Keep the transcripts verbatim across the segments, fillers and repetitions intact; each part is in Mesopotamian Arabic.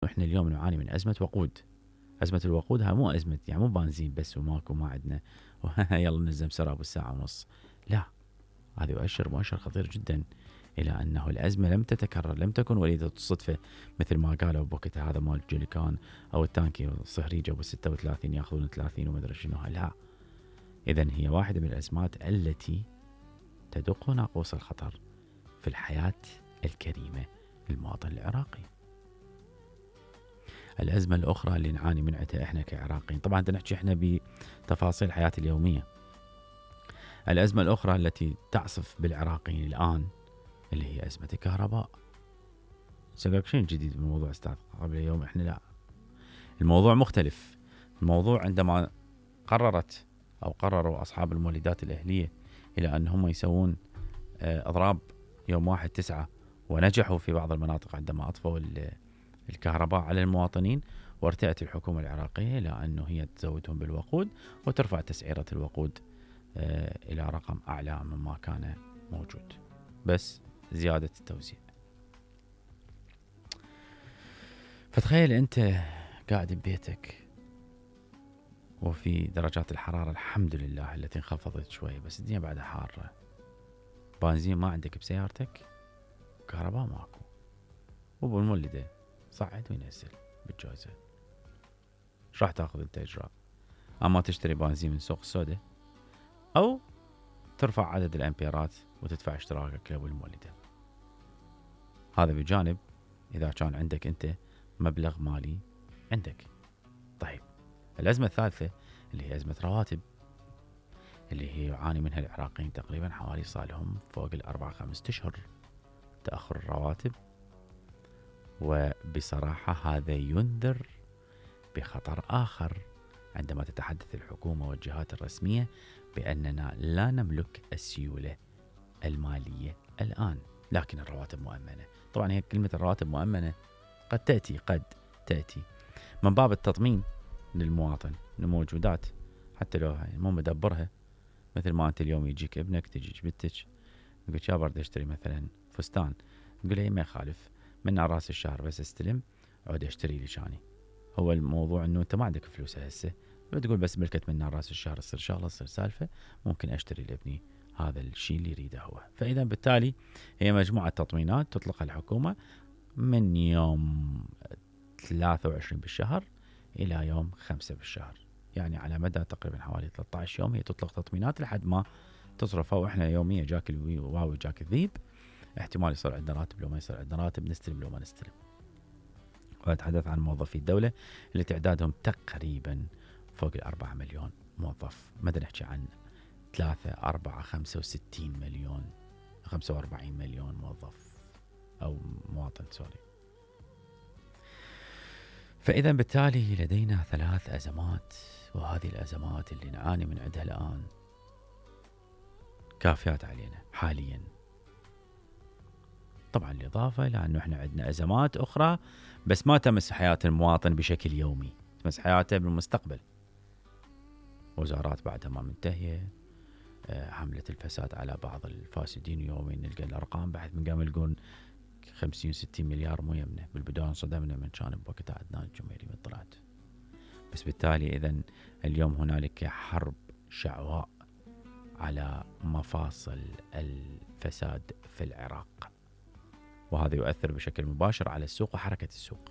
احنا اليوم نعاني من ازمه وقود. ازمه الوقود هاي مو ازمه يعني مو بنزين بس وماكو ما عندنا يلا نلزم سراب الساعه ونص، لا، هذا يؤشر مؤشر خطير جدا الى انه الازمه لم تتكرر، لم تكن وليده الصدفه مثل ما قالوا بوقتها هذا مال جوليكان او التانكي الصهريج ابو ستة وثلاثين ياخذون ثلاثين وما ادري شنو. لا، اذا هي واحده من الازمات التي تدق ناقوس الخطر في الحياه الكريمه للمواطن العراقي. الأزمة الأخرى اللي نعاني منها إحنا كعراقيين، طبعا نحكي إحنا بتفاصيل الحياة اليومية. الأزمة الأخرى التي تعصف بالعراقيين الآن اللي هي أزمة الكهرباء. سأقولك شيء جديد بالموضوع أستاذ، قبل يوم إحنا لا، الموضوع مختلف. الموضوع عندما قررت أو قرروا أصحاب المولدات الأهلية إلى أن هم يسوون أضراب يوم واحد تسعة، ونجحوا في بعض المناطق عندما أطفوا الكهرباء على المواطنين، وارتأت الحكومة العراقية إلى أنه هي تزودهم بالوقود وترفع تسعيرة الوقود إلى رقم أعلى مما كان موجود، بس زيادة التوزيع. فتخيل أنت قاعد ببيتك وفي درجات الحرارة الحمد لله التي انخفضت شوي، بس الدنيا بعدها حارة، بنزين ما عندك بسيارتك، كهرباء ماكو، وبالمولدة صعد وينزل بالجوزة. ايش راح تاخذ انت اجراء؟ اما تشتري بنزين من سوق السوداء او ترفع عدد الامبيرات وتدفع اشتراكك له بالمولدة. هذا بجانب اذا كان عندك انت مبلغ مالي عندك. طيب الازمة الثالثة اللي هي ازمة رواتب، اللي هي يعاني منها العراقيين تقريبا حوالي صار فوق الاربع خمسة اشهر تأخر الرواتب، وبصراحة هذا ينذر بخطر آخر عندما تتحدث الحكومة والجهات الرسمية بأننا لا نملك السيولة المالية الآن، لكن الرواتب مؤمنة. طبعا هي كلمة الرواتب مؤمنة قد تأتي قد تأتي من باب التطمين للمواطن لموجودات، حتى لو مو مدبرها. مثل ما أنت اليوم يجيك ابنك تجيك بنتك يقول يا برد اشتري مثلا فستان، تقول له ما يخالف من راس الشهر بس استلم عود اشتري لي شاني. هو الموضوع انه انت ما عندك فلوس هسه، بتقول بس ملكت من راس الشهر تصير شغله تصير سالفه، ممكن اشتري لابني هذا الشيء اللي يريده هو. فاذا بالتالي هي مجموعه تطمينات تطلقها الحكومه من يوم ثلاثة وعشرين بالشهر الى يوم خمسة بالشهر، يعني على مدى تقريبا حوالي ثلاثة عشر يوم هي تطلق تطمينات لحد ما تصرفها. واحنا يوميا جاك الواو جاك الذيب، احتمال يصير عندنا راتب لو ما يصير عندنا راتب، نستلم لو ما نستلم. وأتحدث عن موظفي الدولة اللي تعدادهم تقريبا فوق الأربعة مليون موظف، ما نحكي عن ثلاثة أربعة خمسة وستين مليون خمسة وأربعين مليون موظف أو مواطن سوري. فإذا بالتالي لدينا ثلاث أزمات، وهذه الأزمات اللي نعاني من عندها الآن كافيات علينا حاليا. طبعا الإضافة لأنه إحنا عندنا أزمات أخرى بس ما تمس حياة المواطن بشكل يومي، تمس حياته بالمستقبل. وزارات بعدها ما منتهية، حملة الفساد على بعض الفاسدين يوميا نلقى الأرقام بعد من قام يلقون خمسين ستين مليار مو يمنا. بالبداية انصدمنا من كان بوقتها عدنان الجميلي من طلعت. بس بالتالي إذن اليوم هنالك حرب شعواء على مفاصل الفساد في العراق، وهذا يؤثر بشكل مباشر على السوق وحركة السوق.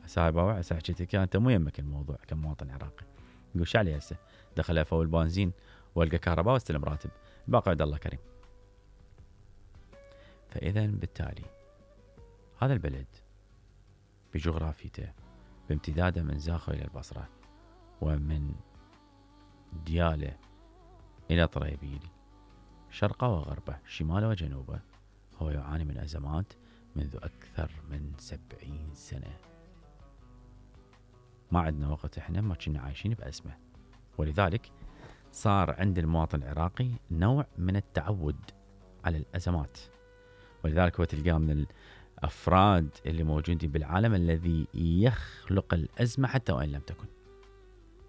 هسه هاي باوع هسه حكيتك انت مو يمك الموضوع كمواطن عراقي، يقول شو علي هسه دخل افول بنزين والقى كهرباء واستلم راتب، الباقي عند الله كريم. فاذا بالتالي هذا البلد بجغرافيته بامتداده من زاخو الى البصره ومن دياله الى طريبيل شرقه وغربه شماله وجنوبه، هو يعاني من أزمات منذ أكثر من سبعين سنة. ما عندنا وقت إحنا ما كنا عايشين بأزمة، ولذلك صار عند المواطن العراقي نوع من التعود على الأزمات. ولذلك هو تلقاه من الأفراد اللي موجودين بالعالم الذي يخلق الأزمة حتى وإن لم تكن.